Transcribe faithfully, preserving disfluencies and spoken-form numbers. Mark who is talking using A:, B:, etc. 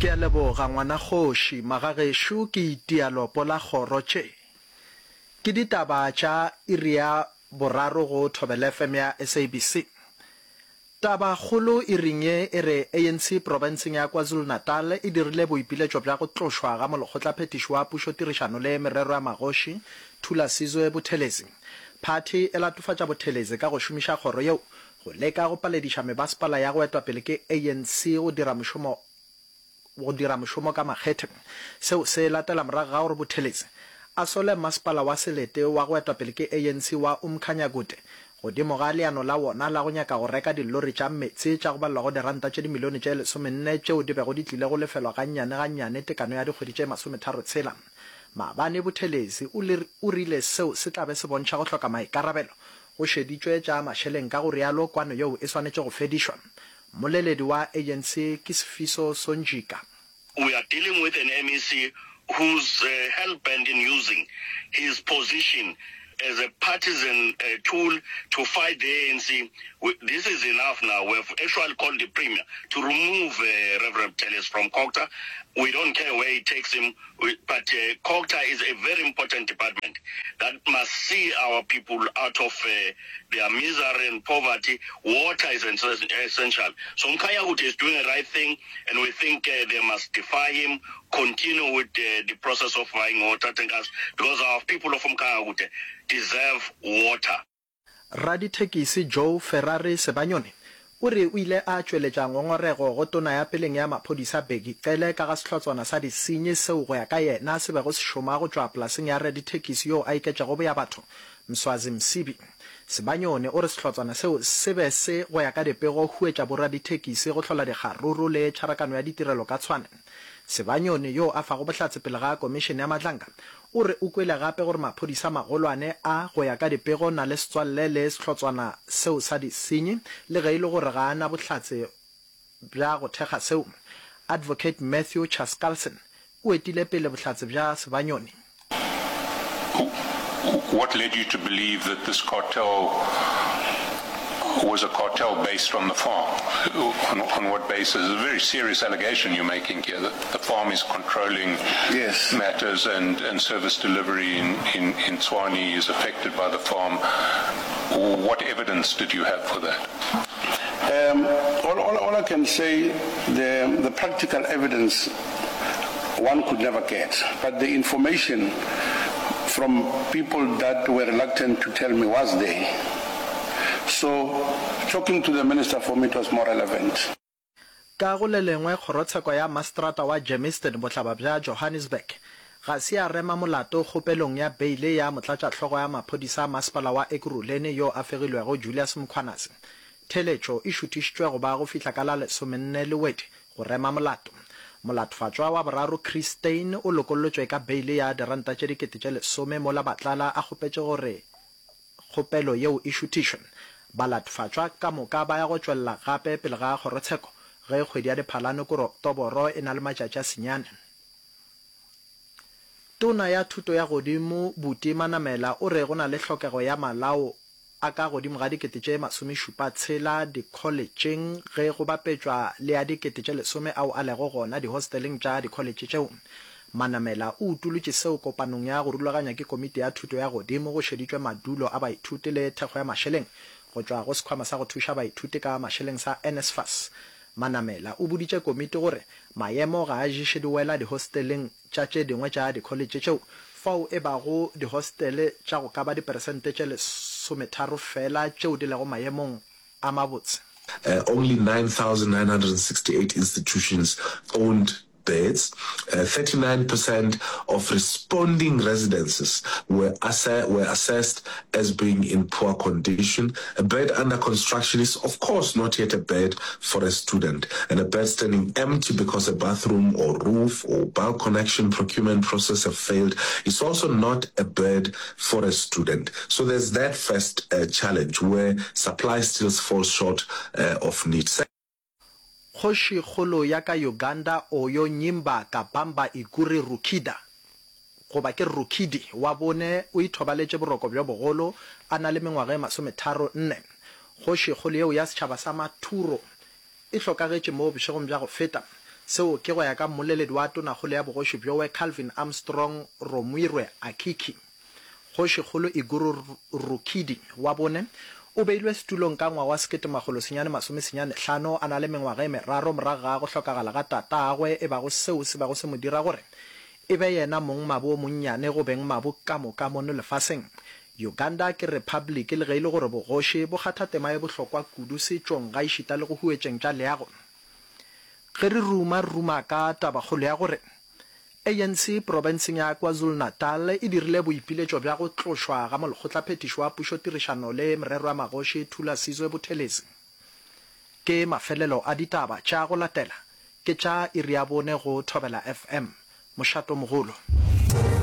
A: Ke a leboga ngwana kgoši. Magagešo ke itia lopo la kgoro tše. Ke ditaba tša iri ya boraro go Thobela F M ya S A B C. Taba kgolo iring ye e re A N C profenseng ya KwaZulu-Natal e dirile boipiletšo bja go tlošwa ga molekgotlaphethiši wa pušo tirišano le merero ya magoši Thulasizwe Buthelezi. Phathi e latofatša Buthelezi ka go šomiša kgoro yeo go leka go palediša mebasepala ya go etwa pele ke A N C go dira mošomo go dira mošomo ka makgethe. Seo se latela morago ga gore Buthelezi a sole masepala wa selete wa go etwa pele ke A N C wa Umkhanyakude godimo ga leano la wona la go nyaka go reka dilori tša meetse tša go balelwa go diranta tše dimilione tše lesomenne tšeo di bego di tlile go lefelwa gannyane gannyane tekano ya dikgwedi tše masometharo tshela. Maabane Buthelezi o rile seo se tla be se bontšha go hloka maikarabelo go šeditšwe tša mašeleng, ka go rialo kwano yeo e swanetše go fedišwa. Mmoleledi wa A N C ke Sifiso Sonjica.
B: We are dealing with an M E C who's uh, hell-bent in using his position as a partisan uh, tool to fight the A N C. We, this is enough now. We have actually called the Premier to remove uh, Reverend Buthelezi from COGTA. We don't care where he takes him, we, but uh, COGTA is a very important department that must see our people out of uh, their misery and poverty. Water is essential. So Mkhanyakude is doing the right thing, and we think uh, they must defy him, continue with uh, the process of buying water tankers, because our people of Mkhanyakude deserve water.
A: Radithekisi Joe Ferrari Sebanyoni o re o ile a tšweletša ngongorego go tona ya peleng ya maphodisa Bheki Cele ka ga sehlotswana sa disenyi seo go ya ka yena se bego se šoma go tšwa polaseng ya radithekisi yo a iketšego boya batho Mswazi Msibi. Sebanyoni o re sehlotswana seo se be se go ya ka dipego huetša boradithekisi go hlola dikgaruru le tšharakano ya ditirelo ka Tshwane. Sebanyoni yo a fago bohlatse pele ga komišene ya Madlanga o re o kwele gape gore maphodisa magolwane a go ya ka dipego na le setswalle le sehlotswana seo sa disenyi le ge e le gore ga a na bohlatse bja go thekga seo. Advocate Matthew Chaskalson o etile pele bohlatse bja Sebanyoni.
C: What led you to believe that this cartel was a cartel based on the farm? On, on what basis? It's a very serious allegation you're making here, that the farm is controlling
D: Yes.
C: matters and, and service delivery in, in, in Tshwane is affected by the farm. What evidence did you have for that?
D: Um, all, all, all I can say, the, the practical evidence one could never get, but the information from people that were reluctant to tell me was there. So talking to the minister for me it was more relevant.
A: Ka go le lengwe, kgorotsheko ya maseterata wa Germiston bohlaba bja Johannesburg ga se ya rema molato kgopelong ya beile ya motlatšahlogo ya maphodisa a masepala wa Ekurhuleni yo a fegilwego Julius Mkhwanazi. Theeletšo e šuthišitšwe go ba go fihla ka la lesomenne Lewedi go rema molato. Molatofatšwa wa boraro Chris Steyn o lokollotšwe ka beile ya diranta tše dikete tše lesome mola Matlala a kgopetše gore kgopelo yeo e šuthišwe. Balatofatšwa ka moka ba ya go tšwelela gape pele ga kgorotsheko ge kgwedi ya Diphalane kore Oktoboro e na le matšatši a senyane. Tona ya thuto ya godimo Buti Manamela o re go na le hlokego ya malao a ka godimo ga dikete tše masomešupa tshela dikholetšeng ge go bapetšwa le a dikete tše lesome ao a lego gona dihosteleng tša dikholetše tšeo. Manamela o utolotše seo kopanong ya go rulaganya ke komiti ya thuto ya godimo go šeditšwe madulo a baithuti le thekgo ya mašeleng go tšwa go sekhwama sa go thuša baithuti ka mašeleng sa N S F A S. Manamela o boditše komiti gore maemo ga a ješe diwela dihosteleng tša tše dingwe tša dikholetše tšeo fao e bago dihostele tša go ka ba diperesente tše lesometharo fela tšeo di lego maemong a mabotse.
E: Uh, only nine thousand nine hundred sixty-eight institutions owned beds. Uh, thirty-nine percent of responding residences were, asse- were assessed as being in poor condition. A bed under construction is, of course, not yet a bed for a student. And a bed standing empty because a bathroom or roof or bulk connection procurement process have failed is also not a bed for a student. So there's that first uh, challenge where supply still falls short uh, of need.
A: Kgošikgolo ya ka Uganda Oyo Nyimba Kabamba Iguri Rukida goba ke Rukidi wa bone o ithobaletše boroko bjo bogolo a na le mengwaga e masometharo nne. Kgošikgolo yeo ya setšhaba sa Mathuro e hlokagetše mo bošegong bja go feta. Seo ke go ya ka mmoleledi wa Tonakgolo ya bogoši bjowe Calvin Armstrong Romwirwe Akiki. Kgošikgolo Iguru Rukidi wa bone o beilwe setulong ka ngwaga wa sekete makgolo senyane masome senyane hlano a na le mengwaga e meraro morago ga go hlokagala ga tatagwe e bago seo se bego se mo dira gore e be yena mongmabo o monnyane go bengmabo ka moka mono lefaseng. Uganda ke repabliki le ge e le gore bogoši bo kgatha tema ye bohlokwa kudu setšong gaešita le go huetšeng tša leago. Ge re ruma, re ruma ka tabakgolo ya gore ANC profenseng ya KwaZulu-Natal e dirile boipiletšo bja go tlošwa ga molekgotlaphethiši wa pušotirišano le merero ya magoši Thulasizwe Buthelezi. Ke mafelelo a ditaba tša go latela ke tša iri ya bone go Thobela FM, mošatomogolo.